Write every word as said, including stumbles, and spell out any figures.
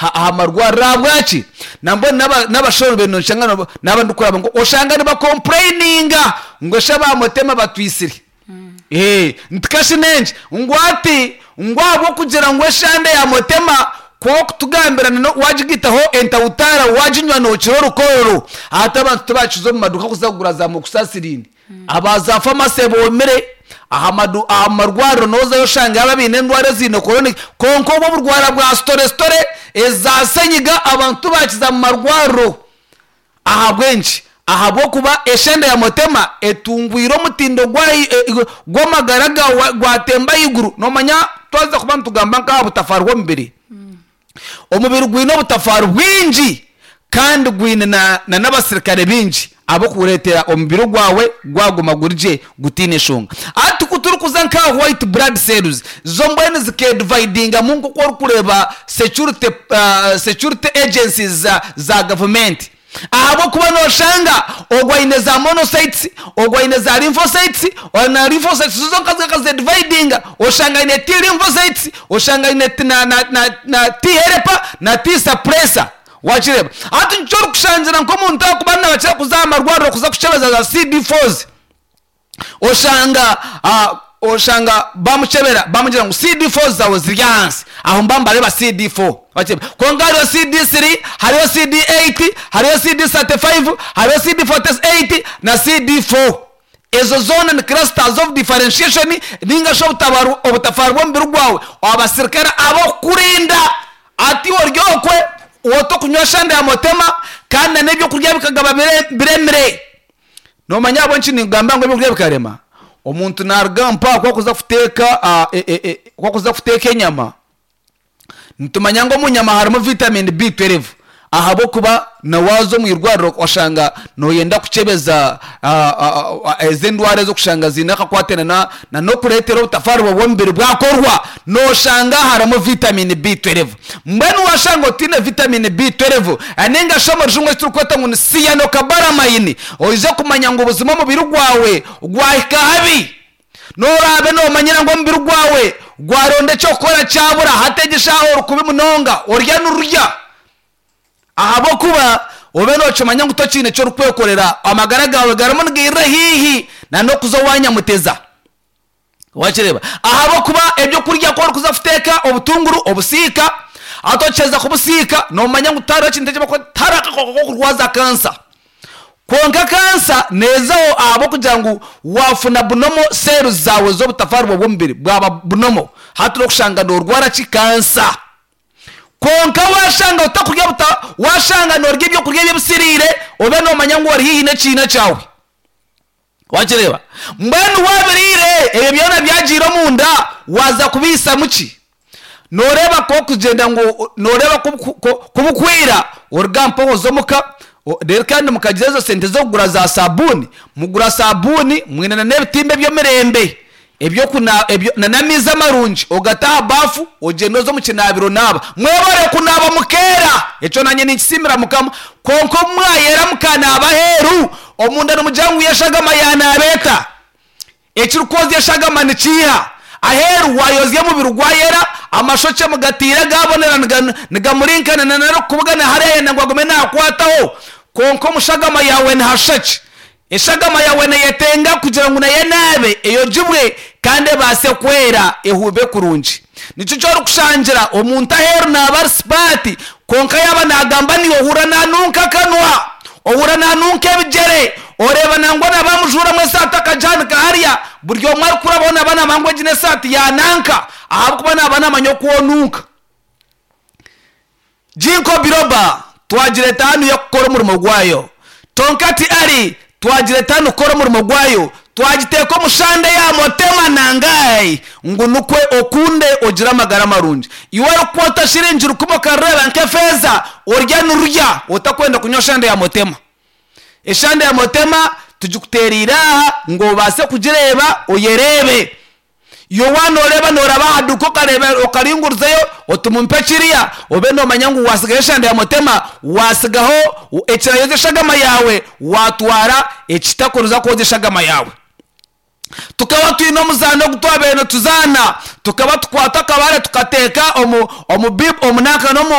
Aha marwariro. Ahabwaki? Nambwenu n'abashaho noshanga naaba ndikuraba ngu oshanga nibakompureyininga ngu eshi aba Mutema batwisire. Nti kashi n'enki? Ngu hati ngu ahabw'okugira ngu eshande ya Mutema ku orikutugambira wagigaitaho entawutaara waginywa nookira orukororo. Hati abantu tibakiza omu maduuka kuza kugura za amoxicillin. Aba za pharmacy boomire, aha madu aha marwariro noozayo oshangayo abaine endwara eziine chronic, kwonka obwo oburwara bwa sitore sitore, eza senyiga abantu tibakiza mu marwariro. Ahabw'enki? Ahabw'okuba eshenda ya Mutema etungwire omutindo gw'amagara gaawe gwatemba ahaiguru. Noomanya twaza kuba nitugamba nk'aha butafaari bw'omubiri, omubiri gwine obutafaari bwingi kandi gwine na n'abasirikare baingi abarikureetera omubiri gwawe gwaguma guri gye gutaine nshonga. Hati ku turikuza nk'aha white blood cells, zo mbwenu zikeedivaidingamu nk'oku orikureeba security, security agencies za, za gavumenti. Ahabw'okuba nooshanga ogwo aine za monocytes, ogwo aine za lymphocytes, na lymphocytes zo zonka zikazedivaidinga, oshanga aine T lymphocytes, oshanga aine na, na, na, na T helper na T suppressor. Wakireeba? Hati nikyo orikushangira nk'omuntu ahakuba nibakira kuza aha marwariro kuza kukyebeza za C D fours, oshanga oshanga bamukyebera bamugira ngu C D four zaawe ziri ahansi. Aho nibaba nibareeba C D four. Wakireeba? Kwonka hariho C D three, hariho C D eight, hariho C D thirty-five, hariho C D forty-eight na C D four. Ezo zoona ni clusters of differentiation ninga shi obutafaari bw'omubiri gwawe, abasirikare abarikukurinda. Hati iwe ori okwe otokunywa shande ya Mutema kandi na n'ebyokurya bikagaba biremire. Noomanya ahabw'enki ningamba ngu ebyokurya bikarema? Omuntu naaruga mpaha ku akuza kuteeka ku akuza kuteeka enyama, nitumanya ngu omu nyama harimu vitamin B twelve, ahabw'okuba na waaza omu irwariro oshanga nooyenda kukyebeza ezi endwara ez'okushanga ziine akakwate na n'okureetera obutafaari bw'omubiri bwakorwa, nooshanga harimu vitamin B twelve. Mbwenu waashanga otaine vitamin B twelve ninga shi omu Rujungu eki turikweta ngu ni cyanocobalamin, oije kumanya ngu buzima omubiri gwawe gwahika habi. N'oraabe noomanyira ngu omubiri gwawe gwaronda eky'okukora kyabura, hati egi eshaaha ori kubi munonga, orya nirurya, ahabw'okuba obe nookimanya ngu tokiine eki orikwekorera, amagara gaawe garimu nigairira haihi na n'okuza owa Nyamuteza. Wakireeba? Ahabw'okuba ebyokurya ku orikuza kuteeka obutunguru obusiika, hati okiheza kubusiika noomanya ngu tihariho ekintu eki barikweta, tihariho akakooko k'okurwaza kansa. Kwonka kansa neezaho ahabw'okugira ngu waafuna bunomo cells zaawe z'obutafaari bwawe bw'omubiri bwaba bunomo. Hati orikushanga noorwara ki? Kansa. Kwonka waashanga otakurya buta, waashanga noorya ebyokurya ebisiriire, obe noomanya ngu ori haihi n'ekiina kyawe. Wakireeba? Mbwenu waabiriire ebyo byona byagiire omunda, waaza kubiisamu ki? Nooreeba ku orikugyenda ngu nooreeba ku bukwira, oruga mpaho oza omuka, reero kandi mukagira ezo sente z'okugura za saabuuni, mugura saabuuni mwine na n'ebitimba eby'emirembe eby'okuna ebyo na n'amaizi amarungi, ogata aha baafu ogyenda oza omu kinaabiro onaaba. Mwebare kunaaba mukeera, ekyo naanye ninkisiimira Mukama. Kwonka obu mwayera mukanaaba aheeru, omunda nimugira ngu eshagama yanaaba eta? Ekirikwozya eshagama nikiiha? Aheeru waayozya omubiri gwayera, amashokye mugatiire gaabonera nigamurinkana na n'arikukubugana hariya ayenda ngu agume naakwataho. Kwonka omu shagama yaawe nihashusha ki? Eshagama yaawe neeyetenga kugira ngu nayo enaabe, eyogibwe kandi ebaase kwera ehuube kurungi. Nikyo eki orikushangira omuntu aheeru naaba ari sipaati, kwonka yaaba naagamba naiwe ohurira naanunka akanwa, ohurira naanunka ebigyere, oreeba nangwa na baamujuuramu esaati akagihanika hariya, buri omwe arikurabaho naaba naamanya ngu egi n'esaati ya nanka, ahabw'okuba naaba naamanya oku onunka. Ginkgo biloba twagireeta hanu y'okukora omurimo gwayo. Tongkat Ali twagireeta hanu kukora omurimo gwayo. Twagiteeka omu shande ya Motema Nangai ngu nikwe okunde ogire amagara marungi. Iwe orikukwata shiringi rukumi okarireeba nk'efeeza, orya nirurya otakwenda kunywa shande ya Motema. Eshande ya Motema tugikuteereire aha ngu obaase kugireeba oyereebe. Iwe waaba nooreeba nooraba aha duuka okareeba okaringurizayo oti mumpe kiriya, obe noomanya ngu waatsigaho eshande ya Mutema, waatsigaho ekirayoza eshagama yaawe, waatwara ekitakuruza kwozya eshagama yaawe. Tukaba twine omuzaano ogu twabaire nituzaana, tukaba tukwata akabaare tukateeka omu omu bibu omu nanka n'omu